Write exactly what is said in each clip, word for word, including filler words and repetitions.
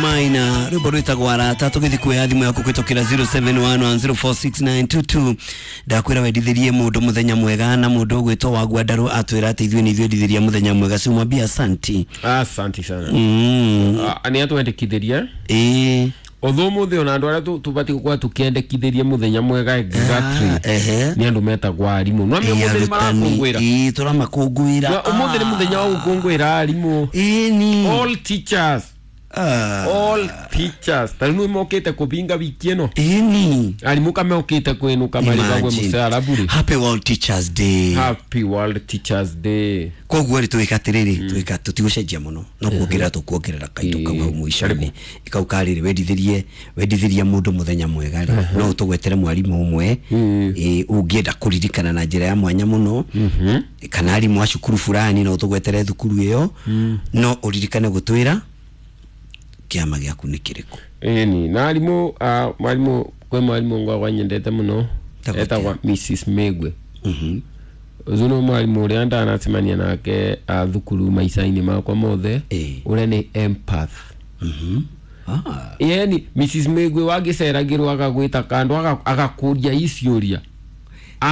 Maina rwimbo rwitagwo arata tugithi kuoya thimu yaku kwitukira zero seven one one zero four six nine two two ndakwira wendithirie mundu muthenya mwega na mundu ugwitwo wa Gwandarũ atwira ati ithuĩ nĩ ithuĩ endithiria muthenya mwega simwambia asanti. Asanti sana. Mm. Ah, nĩ atwendekithirie ĩĩ uthu muthi ona andu aria tubati gukorwo tukiendekithirie muthenya mwega exactly. Ah, ehe. Ni andu metagwo arimu no Ĩĩ, umuthi ni marakungwira. Ĩĩ, tũramakũngũĩra. Umuthi ni muthenya wa gukungwira arimu. Ĩĩ ni All teachers. Ah. All teachers ta riu mokite kubinga wiki ino. Ĩĩ ni arimu kamokite kwinuka maribagwe Imagine. mucara buri. Happy World Teachers Day. Happy World Teachers Day. Koguo rĩ twĩka atĩrĩrĩ twĩka tũtigũcenjia mũno no kuongerera tũkuongerera kaindo kau hau mũico-inĩ kau karĩrĩ wendithĩrie wendithĩrie mũndũ mũthenya mwega rĩ no ũtũgwetere mwarimũ ũmwe ĩ, ũngĩenda kũririkana na njĩra ya mwanya mũno kana arimũ a cukuru fulani no ũtũgwetere thukuru ĩyo no ũririkane gũtwĩra kĩama gĩaku nĩ kĩrĩkũ. Ĩni na arimũ ah, mwarimu kwĩ mwarimu ngwakwa nyendete mũno Etagwo etagwa Missus Megwe. Mhm. Ũcio nĩ mwarimu ũrĩa ndanacemania nake ah, thukuru maica-inĩ makwa mothe Ĩĩ. ũrĩa nĩ empath. Mhm. Ah. Yani Missus Megwe wagĩceragĩrwo agagwĩta kando aga- agakũria iciũria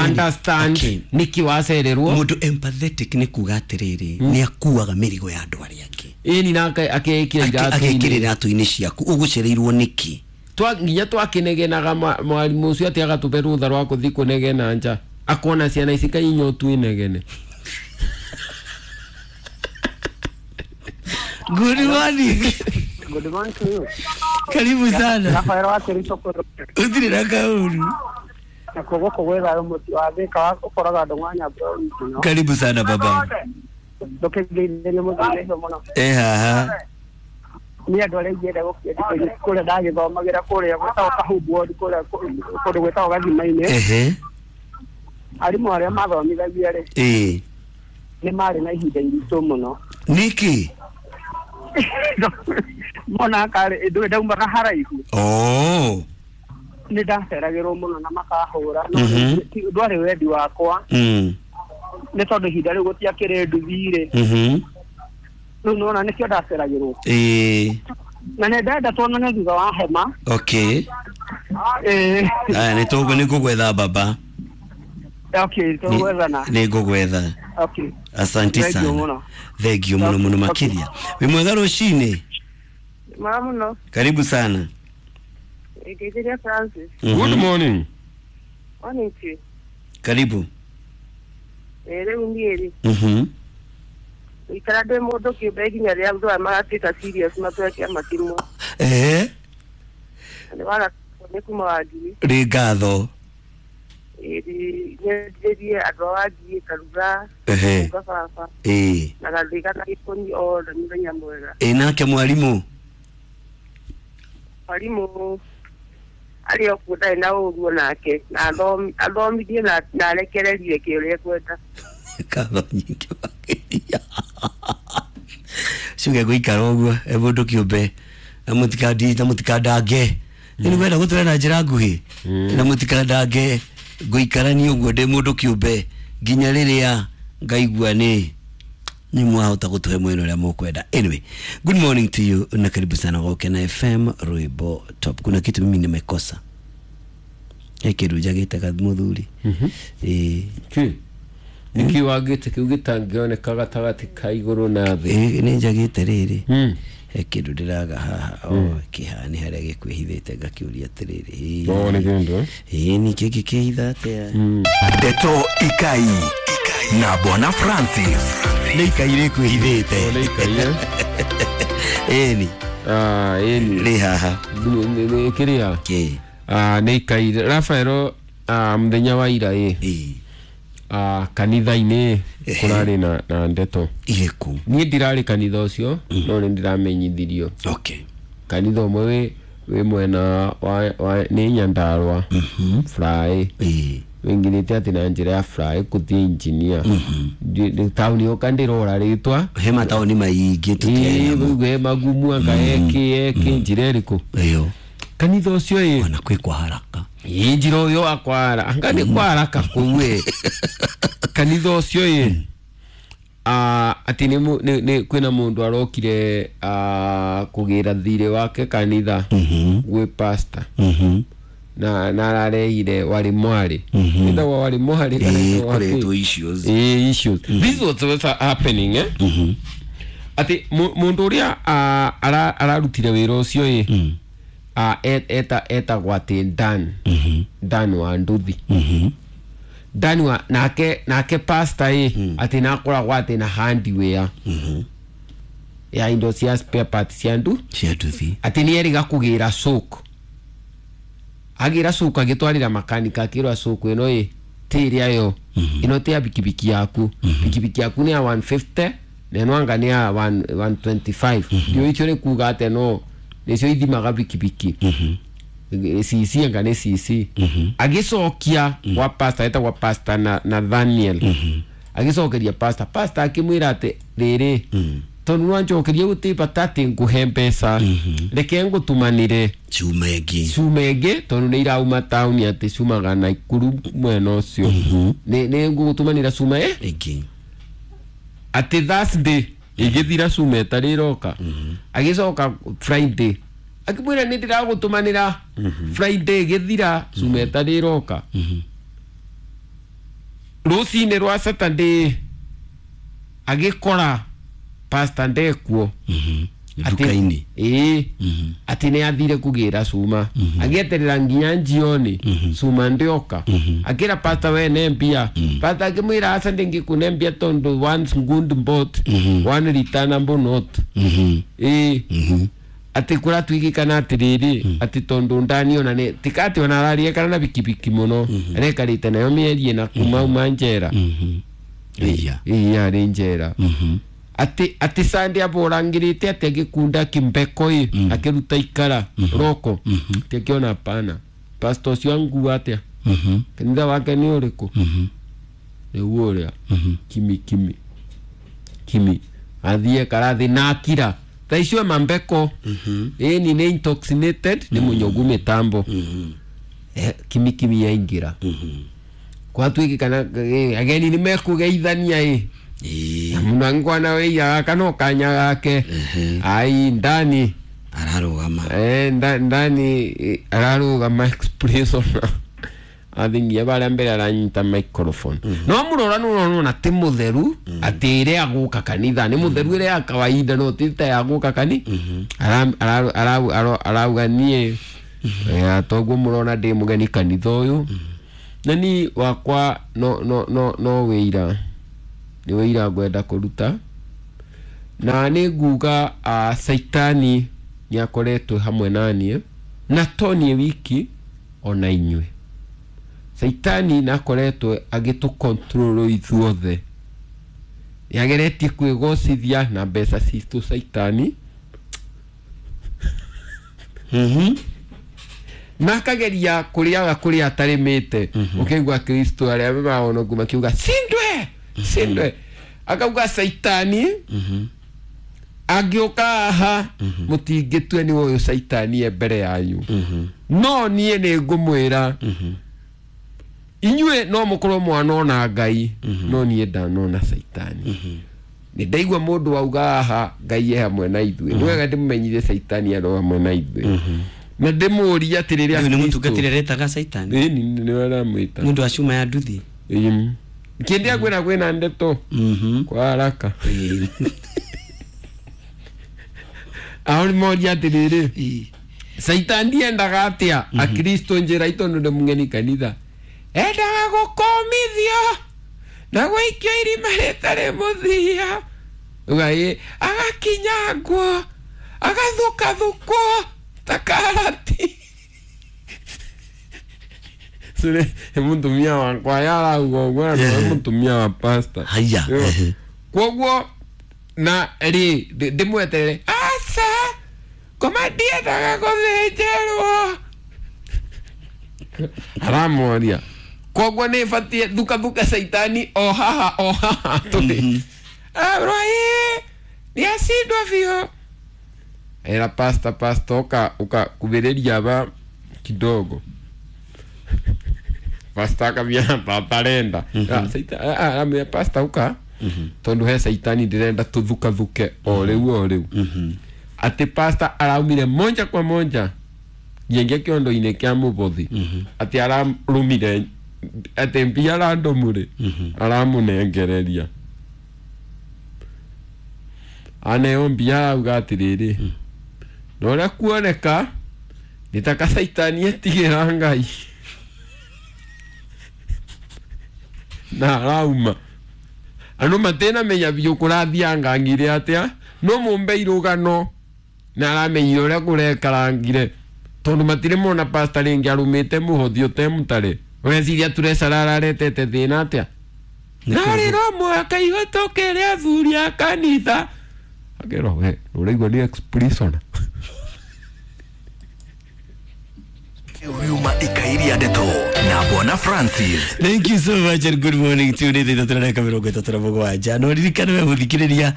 understand okay. nĩkĩ wacererwo. Mũndũ empathetic nĩ kuga atĩrĩrĩ nĩ akuaga mĩrigo ya andũ arĩa angĩ. Ĩni nake akeĩkĩra agekĩra iratũ-inĩ iratũ-inĩ ciaku ũgũcereirwo nĩkĩ. Twa nginya twakinegenaga mwarimũ ũcio atĩ agatũbe rũtha rwa kũthi kũnegena nja akona ciana ici kainyotu inegene. Good morning. Good morning to you. Karibu sana. Rafael wa Kericho kũrũ. Uthire na kauru. Na koguo kũgwĩra mũtu wa Thika wa ũkoraga ndũng'a nyambura. Karibu sana baba. Ndũkĩngeithĩrie mũthenya ũcio mũno. Eh haha. Niĩ andũ arĩa ingĩenda gũkĩendithĩria kũrĩa ndagĩthomagĩra kũrĩa gwĩtagwo Kahumbu Ward kũrĩa kũndũ gwĩtagwo Gathima-inĩ. Ehe. Arimũ arĩa mathomithagia rĩ Eh. nĩ marĩ na ihinda iritũ mũno. Nĩkĩ? Mona karĩ ndũĩ ndaumaga haraihu. Oh. Nĩ ndaceragĩrwo mũno na makahũra no Mhm. ndwarĩ wendi wakwa. Mm. Nĩ tondũ ihinda rĩu gũtiakĩrĩ nduthi rĩ. Mhm. Rĩu nĩwona nĩkĩo ndaceragĩrwo. Eh. Na nĩ ndenda tuonane thutha wa hema. Okay. Eh. Aya nĩ tũgũ nĩ ngũgwetha baba. Okay, tũgwethana. Nĩ ngũgwetha. Okay. Asante Thank you sana. mũno. Thank you mũno mũno makĩria. Wĩ mwega rũcinĩ? Mwega mũno. Karibu sana. Ngeithĩria Francis. Mhm. Good morning. Morning to you. Karibu. Eh, rĩu niĩ rĩ Mhm. ikara ndĩ mũndũ kĩũmbe nginya rĩrĩa andũ aya magatuĩka serious matue kĩama kĩmwe. Ehe. Nĩ waga nĩ kuma Wangigĩ. Rĩ ngatho. Ĩĩ nyendithĩrie andũ a Wangigĩ Karuga Ehe. Karuga baba Ĩĩ. na Gathĩga na Gĩkũni othe mũthenya mwega. Ĩ nake mwarimũ? Mwarimũ arĩ o kuo ndarĩ na ũru onake na athomithie na na arekererie kĩ ũrĩa ekwenda. Ngatho nyingĩ makĩria. Ciuge gũikara ũguo e mũndũ kĩũmbe na mũtikandi na mũtikandange. Nĩ ngwenda gũtwara na njĩra nguhĩ na mũtikandange ngũikarania ũguo ndĩ mũndũ kĩũmbe nginya rĩrĩa ngaigua nĩ nĩ mwahota gũtũhe mwena ũrĩa mũkwenda. Anyway, good morning to you na karibu sana kwa Kena F M Rwimbo Top. Kuna kitu mimi nimekosa. He kĩndũ njagĩte mũthuri. Ĩĩ. Kĩ? Nĩkĩ wagĩte kĩu gĩtangĩoneka gatagatĩ ka igũrũ na thĩ? Ĩĩ nĩ njagĩte rĩrĩ. Mm. He kĩndũ ndĩraga haha o kĩhani harĩa gĩkwĩhithĩte ngakĩũria atĩrĩrĩ. Oh, nĩ kĩndũ, eh? Ĩĩ nĩ kĩngĩ kĩhitha atĩa? Ndeto Ikai na Bwana Francis. Nĩ ikai rĩkwĩhithĩte. Oh, nĩ ikai, eh? Ĩni. Ah, ĩni. Rĩ haha. Nĩ- nĩ- nĩ kĩrĩa? Kĩ? Ah, nĩ ikai. Rafaelo, ah, mũthenya wa ira ĩ. Ĩĩ. Ah, kanitha-inĩ Ehe. kũrarĩ na, na ndeto. Irĩkũ? Niĩ ndirarĩ kanitha ũcio no nĩ ndĩramenyithirio. Okay. Kanitha ũmwe wĩ wĩ mwena wa, wa nĩ Nyandarũa. Fly. Ĩĩ. Wĩingĩrĩte atĩ na njĩra ya fly kũthiĩ engineer. Ndi- taũni ĩyo ndĩrora rĩtwa. He mataũni maingĩ tũtiarĩ namo. Ĩĩ, he magumu anga eke eke njĩra ĩrĩkũ. Ĩyo. Kanitha ũcio ĩ. Ona kwĩ kwa haraka. Ĩ njĩra ũyũ wa kwa haraka. Anga nĩ kwa haraka kũu ĩ. Kanitha ũcio ĩ. ah ati ni ni kwina mundu arokire ah kugira thire wake kanitha gwi pastor na na ararehire wari mwari ithagwa wari mwari kana wari issues eh issues this was what's happening eh ati mundu uria ararutire wira ucio eh ah eta eta gwati Dan Dan wa Nduthi Dan wa nake nake pastor eh ati nakoragwo ati na handiware ya indo cia spare parts cia ndu cia nduthi ati ni eriga kugira soko agira soko agitwarira makanika akirwa soko ino eh ti iria yo ino ti ya bikibiki yaku bikibiki yaku ni ya one fifty na ino anga ni ya one twenty-five ndio icho ni kuga ate no nicio ithimaga bikibiki C C anga ni C C agicokia gwa pastor etagwa pastor na Nathaniel agicokeria pastor pastor akimwira ati riri tondu nwanjokeria guti bata ati nguhe mbeca reke ngutumanire cuma ingi cuma ingi tondu ni irauma tauni ati cumaga Naikuru mwena ucio ni ni ngugutumanira cuma eh ingi ati Thursday igithira cuma itari iroka agicoka Friday akimwira ni ndiragutumanira Friday igithira cuma itari iroka rucini rwa Saturday agikora pastor ndekuo nduka-ini ii ati ni athire kugira cuma agieterera nginya njioni cuma ndioka akira pastor we ne mbia pastor akimwira aca ndingikune mbia tondu one good bought one returnable note ii ati kuratwigikana atiriri ati tondu ndani ona ni tikati ona ararie kana na bikibiki muno arekarite nayo mierie na kuma uma njera iya iya ari njera ati ati Sunday aborangirite ati agikunda kimbeko i akiruta ikara roko ati akiona pana pastor ucio angua atia kanitha wake ni uriku niguo uria kimi kimi kimi athie karathi na akira thaa icio mambeko ĩni nĩ intoxinated nĩ mũnyogu mĩtambo kimi kimi yaingira kwatuĩkĩkana ageni nĩ mekũgeithania ĩ na mũnangwana wĩiyaga kana ũkanya gake ai ndani ararũgama eh ndani ararũgama express ona athingia baria mbere aranyita microphone no murora nurona ti mutheru ati ire aguka kanitha ni mutheru ire ya kawaida no ti ta ya guka kani arauga nie toguo murona ndi mugeni kanitha uyu na ni wakwa no no no no wira ni wira ngwenda kuruta na ni nguga a Saitani ni akoretwo hamwe nanie na to nie wiki ona inywe Saitani na akoretwo agitu control ithuothe yageretie kwigocithia na mbeca citu Saitani mhm na akageria kuriaga kuria atarimite ukaigua Kristo aria maono makiuga sindwe sindwe akauga Saitani angĩũka haha mũtingĩtue nĩ ũyũ Saitani e mbere yanyu no niĩ nĩ ngũmwĩra inyuĩ no mũkorwo mwanona Ngai no niĩ ndanona Saitani nĩ ndaigua mũndũ wauga haha Ngai e hamwe na ithuĩ nĩ wega ndĩmũmenyithie Saitani arĩ hamwe na ithuĩ na ndĩmũũrie atĩ rĩrĩa nĩ mũtungatĩri aretaga Saitani ĩni nĩwe aramwĩta nĩ ũndũ wa cuma ya nduthi kĩndĩa kwĩna kwĩna ndeto kwa haraka aho nĩmoria atĩrĩrĩ Saitani ndiendaga atĩa akristo njĩra itondu ndĩ mũgeni kanitha endaga gũkũmithio na gũikio irima rĩtarĩ mũthia uga agakinyangwo agathukathukwo ta karati sure mũtumia wakwa yarauga ũguo na nĩwe mũtumia wa pastor haya kwoguo na rĩ ndĩmweterere aca ngoma ndiendaga gũthĩnjĩrwo aramoria koguo nĩ batie thukathuka Saitani o haha o haha tũrĩ arwaĩ nĩ acindwo biũ era pasta pasta uka uka kubĩrĩria ba kidogo pasta akambia papa arenda aramwĩra pasta uka Tondu he saitani ndirenda tuthukathuke o riu o riu. Ati pastor araumire moja kwa moja ngingia kiondo-inĩ kĩa mũbothi, atĩ ararũmire atĩ mbia randomũrĩ aramũnengereria aneo mbia arauga atĩrĩrĩ na ũrĩa kuoneka nĩ ta kacaitani etigĩra Ngai na arauma andũ matinamenya biũ kũrathiangangire atĩa no mũmbe irũgano na aramenyire ũrĩa kũrekarangire tondu matire mona pastor ringi arumite muhothi utemutare ureciria turecara araretete thina atia narĩ no mũhaka ihũtũkĩre athuri a kanitha akerwo we ũraigua nĩ ex-prisoner. Riuma ikairia ndeto na Bwana Francis. Thank you so much and good morning to you. Nĩ thaa ithatũ na ndagĩka mĩrongo ĩtatũ na mũgwanja. No ririkane we mũthikĩrĩria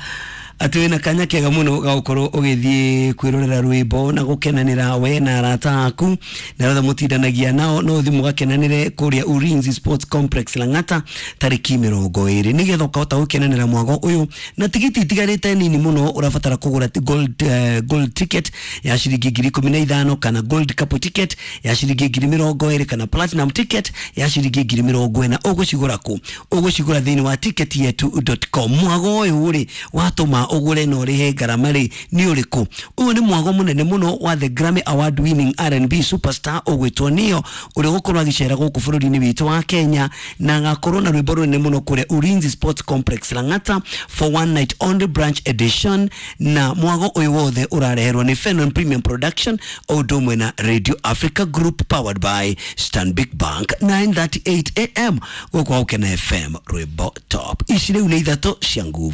atĩ wĩna kanya kega mũno ga gũkorwo ũgĩthiĩ kwĩrorera rwĩmbo na gũkenanĩra we na arata aku na arĩa mũtindanagia nao, no ũthiĩ mũgakenanĩre kũrĩa Ulinzi Sports Complex Lang'ata tarĩki mĩrongo ĩrĩ nĩgetha ũkahota gũkenanĩra mwago ũyũ na tigiti itigarĩte nini mũno. Ũrabatara kũgũra gold, uh, gold ticket ya ciringi ngiri ikũmi na ithano kana gold couple ticket ya ciringi ngiri mĩrongo ĩrĩ kana platinum ticket ya ciringi ngiri mĩrongo ĩna. Ũgũcigũra kũ? Ũgũcigũra thĩinĩ wa ticket yetu dot com. Mwago ũyũ rĩ watũma ũgũre na ũrĩhe ngarama rĩ nĩ ũrĩkũ? Ũyũ nĩ mwago mũnene mũno wa the Grammy Award winning R and B superstar ũgwĩtwo Neo ũrĩa ũgũkorwo agĩcera gũkũ bũrũri-inĩ witũ wa Kenya na agakorwo na rwĩmbo rũnene mũno kũrĩa Ulinzi Sports Complex Lang'ata for one night only branch edition. Na mwago ũyũ wothe ũrareherwo nĩ Fenon Premium Production o ũndũ ũmwe na Radio Africa Group powered by Stanbic Bank. Nine thirty-eight A M gũkũ Gũkena F M rwĩmbo top ici rĩu nĩ ithatũ cia nguvu.